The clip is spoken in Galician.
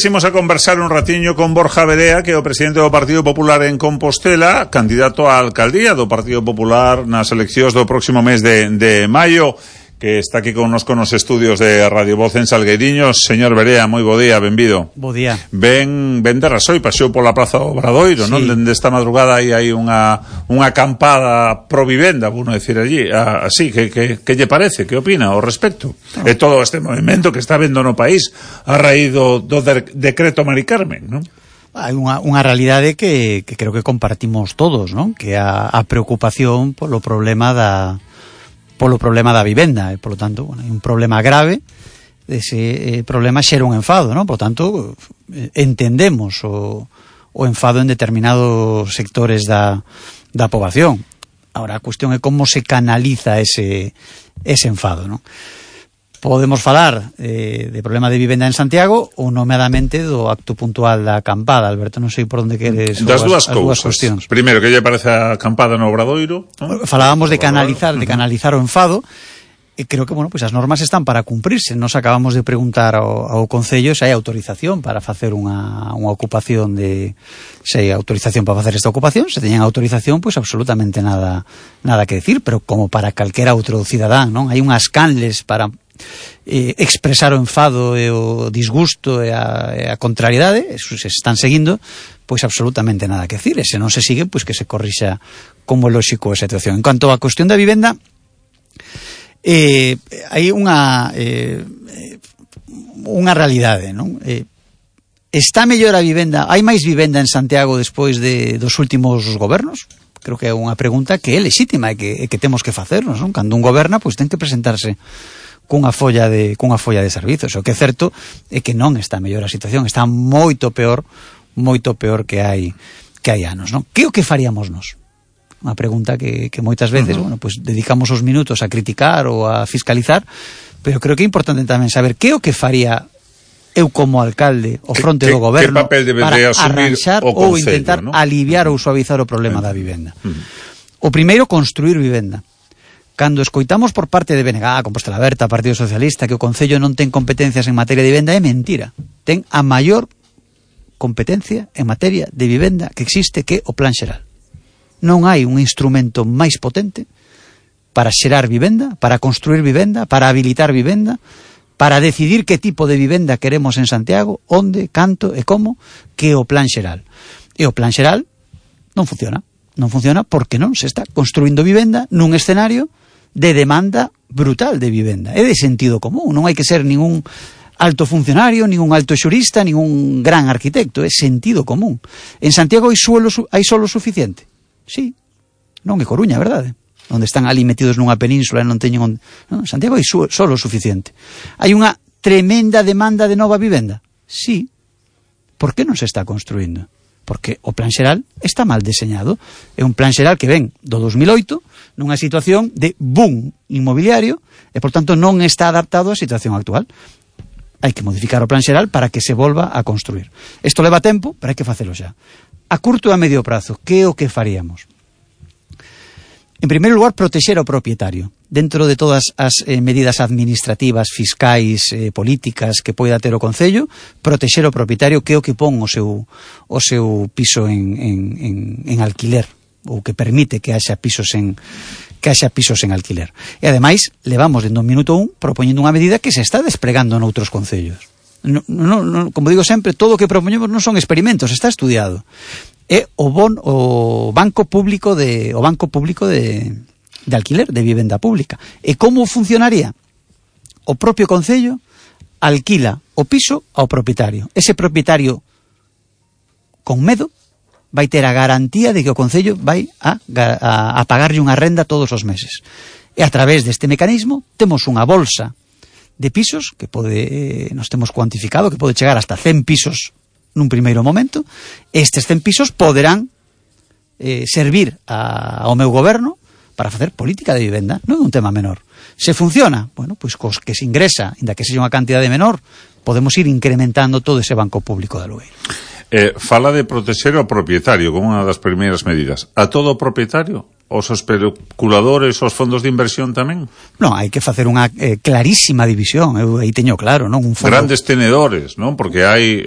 Imos a conversar un ratiño con Borja Verea, que é o presidente do Partido Popular en Compostela, candidato á alcaldía do Partido Popular nas eleccións do próximo mes de maio, que está aquí connosco nos estudios de Radio Voz en Salgueiriños. Señor Verea, moi bo día, benvido. Bo día. Ben de Rasoi, paseo pola Praza do Obradoiro, sí. Non? Dende esta madrugada hai unha acampada pro vivenda, bueno decir allí, así, que lle parece? Que opina ao respecto? No. E todo este movimento que está vendo no país a raíz do decreto Mari Carmen, non? Hai unha realidade que creo que compartimos todos, non? Que a preocupación polo problema da vivenda, e, polo tanto, bueno, hai un problema grave. Ese problema xera un enfado, non? Por tanto, entendemos o enfado en determinados sectores da poboación. Ahora, a cuestión é como se canaliza ese enfado, non? Podemos falar de problema de vivenda en Santiago ou nomeadamente do acto puntual da acampada. Alberto, non sei por onde queres das dúas cuestións. Primeiro, que lle parece a acampada no Obradoiro, non? Falábamos de canalizar o enfado, e creo que, bueno, pues as normas están para cumprirse. Nos acabamos de preguntar ao Concello se hai autorización para facer unha ocupación se hai autorización para facer esta ocupación. Se teñen autorización, pues absolutamente nada que decir, pero como para calquera outro cidadán, non? Hai unhas canles para expresar o enfado e o disgusto e a contrariedade, eso se están seguindo, pois absolutamente nada que decir. E se non se sigue, pois que se corrixa como lóxico a situación. En cuanto á cuestión da vivenda, hai unha realidade, non? Está mellor a vivenda? Hai máis vivenda en Santiago despois dos últimos gobernos? Creo que é unha pregunta que é lexítima e que temos que facernos, non? Cando un goberna, pois ten que presentarse cunha folla de servizos. O que é certo é que non está mellor a situación, está moito peor que hai anos, non? Que o que faríamos nós? Unha pregunta que moitas veces, bueno, pues dedicamos os minutos a criticar ou a fiscalizar, pero creo que é importante tamén saber que o que faría eu como alcalde o fronte do goberno para arranxar ou intentar, ¿no?, aliviar ou suavizar o problema da vivenda. O primeiro, construir vivenda. Cando escoitamos por parte de BNG, Compostela Aberta, Partido Socialista, que o Concello non ten competencias en materia de vivenda, é mentira. Ten a maior competencia en materia de vivenda que existe, que o Plan Xeral. Non hai un instrumento máis potente para xerar vivenda, para construir vivenda, para habilitar vivenda, para decidir que tipo de vivenda queremos en Santiago, onde, canto e como, que o Plan Xeral. E o Plan Xeral non funciona. Non funciona porque non se está construindo vivenda nun escenario de demanda brutal de vivenda. É de sentido común, non hai que ser ningún alto funcionario, ningún alto xurista, ningún gran arquitecto, é sentido común. En Santiago hai solo suficiente? Sí, non é Coruña, verdade? Onde están ali metidos nunha península e non teñen non, en Santiago hai solo suficiente. Hai unha tremenda demanda de nova vivenda? Sí. Por que non se está construindo? Porque o Plan Xeral está mal deseñado. É un Plan Xeral que ven do 2008 nunha situación de boom inmobiliario e, por tanto, non está adaptado á situación actual. Hai que modificar o Plan Xeral para que se volva a construir. Isto leva tempo, pero hai que facelo xa. A curto e a medio prazo, que é o que faríamos? En primeiro lugar, protexer ao propietario. Dentro de todas as medidas administrativas, fiscais, políticas que poida ter o Concello, protexer o propietario, que é o que pon o seu piso en alquiler, ou que permite que haxa pisos en alquiler. E ademais, levamos dende o minuto 1 propoñendo unha medida que se está desplegando noutros concellos. No, como digo sempre, todo o que propoñemos non son experimentos, está estudiado. É o banco público de alquiler, de vivenda pública. E como funcionaría? O propio Concello alquila o piso ao propietario. Ese propietario, con medo, vai ter a garantía de que o Concello vai a pagarlle unha renda todos os meses. E a través deste mecanismo temos unha bolsa de pisos que nos temos cuantificado que pode chegar hasta 100 pisos nun primeiro momento. Estes 100 pisos poderán servir ao meu goberno para facer política de vivenda. Non é un tema menor. Se funciona, bueno, pois cos que se ingresa, inda que sexa unha cantidade menor, podemos ir incrementando todo ese banco público de alugueiro. Fala de protexer ao propietario como unha das primeiras medidas. A todo o propietario? Os especuladores, os fondos de inversión tamén? Non, hai que facer unha clarísima división. Eu aí teño claro, non? Un fondo... Grandes tenedores, non? Porque hai